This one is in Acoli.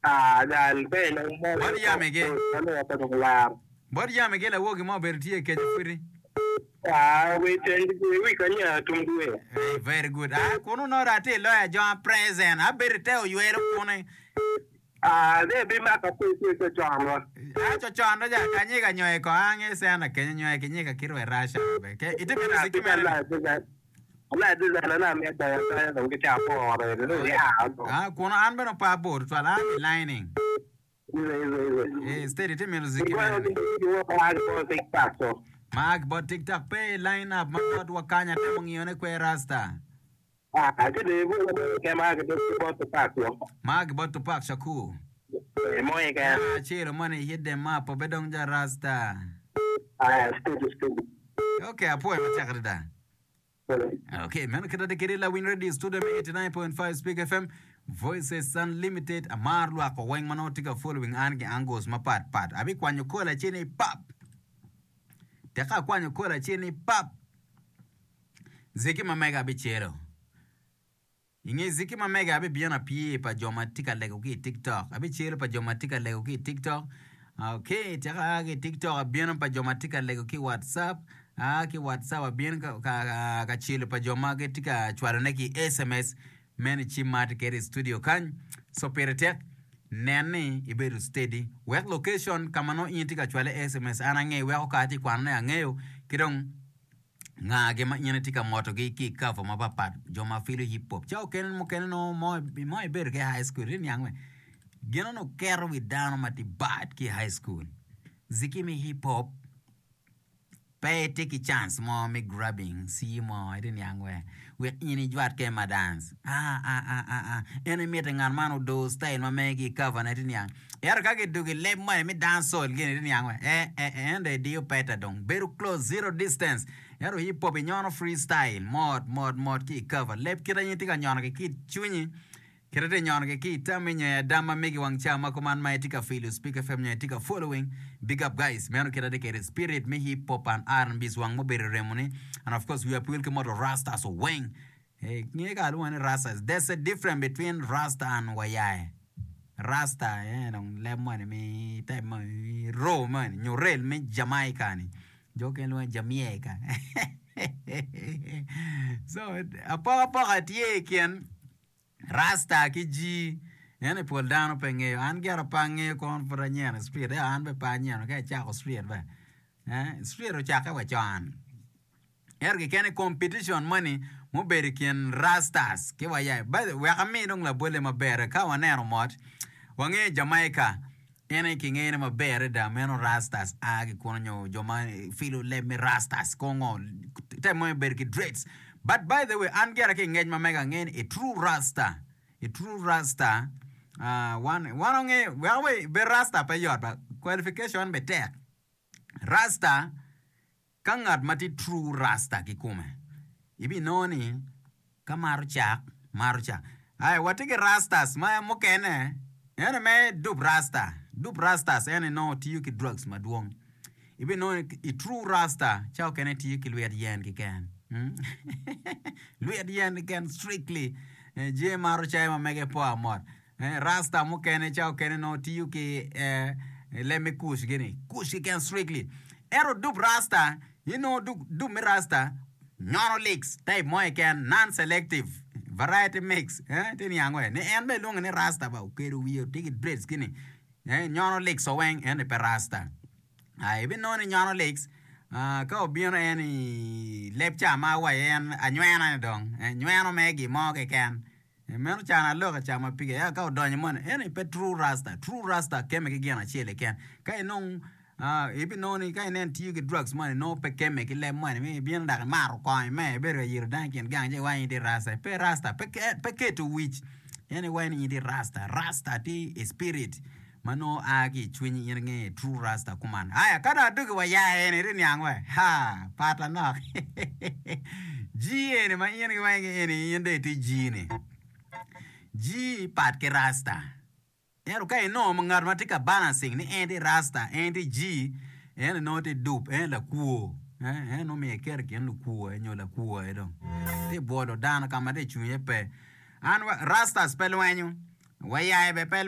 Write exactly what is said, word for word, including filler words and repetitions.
Ah, jal pe nong mo. Bot yamigi. Ano pa dong lar. Bot yamigi lawogi mo obedo tye keco pudi. Ah, we ten we kanya tum dwe. Hey, very good. Ah, kunu nongo dong atye i loya jo present. Abedo i te oywelo kune. Ah, de bi maka pe pe pe chon wa. Ah, cocon do ja kanyika nyoye ko ange sena kenyo nyoye kinyika kirwe rasha be. Ke ite mito Ah, ziki bi mene ni. la bi la. La bi la na me da da dong ki cha po re re ya. Ah, kunu an bene pa bor twal an i lining. Ize ize ize. Eh, steady ite mito ziki Igwayo mene ni. ki ki wo pa ko TikTok so. Mark bot TikTok pe i line up ma bot wakanya temo ngiyone kwe rasta. Ah, ke de bu ke ma ke de bo TikTok so. Mark bot Tupac Shakur. Mo e ke. Ah, acelo moni hit them up obe dong ja rasta. Ah, steady steady. Okay, apwoyo matek adada. Okay, meno kit ade kede Lawiny Radio Studio me eighty-nine point five Speak F M Voices Unlimited amar lwako weng ma nongo tye ka following an ki angles mapat pat. Abikwanyo kola acel ni pap. Teka akwanyo kola acel ni pap. Ziki ma mega abicelo. I nge ziki ma mega abibino apye pa jo ma tye ka lego ki i TikTok. Abicelo pa jo ma tye ka lego ki i TikTok. Okay, teka aa ki i TikTok abino pa jo ma tye ka lego ki i WhatsApp. Aa ki WhatsApp abino ka, ka, ka, ka celo pa jo ma gitye ka cwalone ki S M S. Meno cim ma atye kwede i studio kany. So pire tek, nen ni ibedo steady. Wek location ka ma nongo in itye ka cwale S M S an ange, weko ka atye ka kwanone angeyo. Ki dong nga gi ma in itye ka motogi ki i cover mapapat, jo ma filo hip hop. Ca okene mukene nongo mo, mo ibedo ki i high school, itye niang we? Gin onongo keto wi dano ma tye bad ki i high school. Ziki me hip hop pe itye ki chance mo me grabbing C mo, itye niang we? Wek in ijwat ke ma dance. Ah, ah, ah, ah, ah. En imite ngat man odo style ma megi i cover ne, itye niang. Ento ka gidugo i leb moni me dancehall gini, itye niang we? Eh, eh, eh, en dong idiyo peta dong. Bedo close, zero distance. Ento hip hop inyono freestyle, mot, mot, mot ki i cover. Leb kite in itye ka nyono ki ki i cwinyi, kite itye nyono ki ki i tammi nyo i adam ma megi wang ca ma kuman ma itye ka filo Speak F M nyo itye ka following. Big up guys. Meno kite atye kede spirit me hip hop and R and B wang mubedo i remoni. And of course we appeal ki moto Rastas weng. Hey, nge ka alwongo ni Rastas. There's a difference between Rasta and Wayae. Rasta, eh, dong leb moni mi type moni, row moni, nyo rel me Jamaica ni. Jo okene lwongo ni Jamaica. So, apokapoka tye i kin Rasta ki G. En i pol dano pe ngeyo. An gira pe angeyo kono pud anyeno street. Eh, an be pe anyeno ka icako street be. Eh, street ocakke wa con. Ento kikene competition moni mubedo i kin Rastas ki Wayayi. By the way, wek ami dong labolle maber ka waneno mot, wangeyo Jamaica en aye kingeyone maber adada meno Rastas a ki kunu nyo jo ma filo leb me Rastas kongo type mo bedo ki dreads. But by the way, an gira ki i ngec ma mega angeyo ni a true Rasta, a true Rasta, uh, wan, wan wangeyo, wek we bed Rasta pe yot ba, qualification be tek. Rasta, ka ngat ma tye true Rasta kikome, ibinongo ni ka mato cak, mato cak. Ai, watye ki Rastas ma mukene, ene me dup Rasta. Dup Rastas ene nongo tiyo ki drugs madwong. Ibinongo ni i true Rasta, ca okene tiyo ki lwet yen keken. Hmm? Lwet yen keken strictly. Eh, jami mato cai ma mege po amot. Eh, Rasta mukene ca okene nongo tiyo ki eh, leb me kuc gini. Kuc keken strictly. Ento dup Rasta, inongo dup, dup me Rasta nyono licks type mo keken, non-selective, variety mix. Eh, tye niang we? Ni en bene ilwongo ni Rasta ba, okedo wiye tye ki dreads gini. Eh, nyono licks oweng, en ni pe Rasta. Ah, ibinongo ni nyono licks, ah, ka obino en i leb ca ma awaco en anywena ni dong, eh, nyweno me gin mo keken. Meno can aloka ca ma pige ea ka odonyo moni eni pe true rasta. True rasta keme ki gin acel keken. Ka inong ah, ibinongo ni ka inen tiyo ki drugs moni nongo pe keme ki leb moni mi ibino dok imato kongo ime ibedo ka yito dano i kin gang ci iwaco ni itye rasta. Pe rasta, pe ke, pe keto wic en iwaco ni in itye rasta. Rasta tye i spirit ma nongo a ki i cwinyi in ingeyo true rasta kuman. Aya ka dong adugi wa ya eni iti niang we? Ha, pat anok. G eni ma in giwaco ki eni in dong itye G ni. G pat ki rasta. Ento ka inongo ngat ma tye ka balancing ni en tye rasta, en tye G, en nongo tye dup, en lakwo. Eh, en nongo myero iket i kin lukwo aye nyo lakwo aye dong. Tye bwolo dano ka ma tye cwinye pe. An rastas pe lwenyo, wayaye bene pe lwenyo.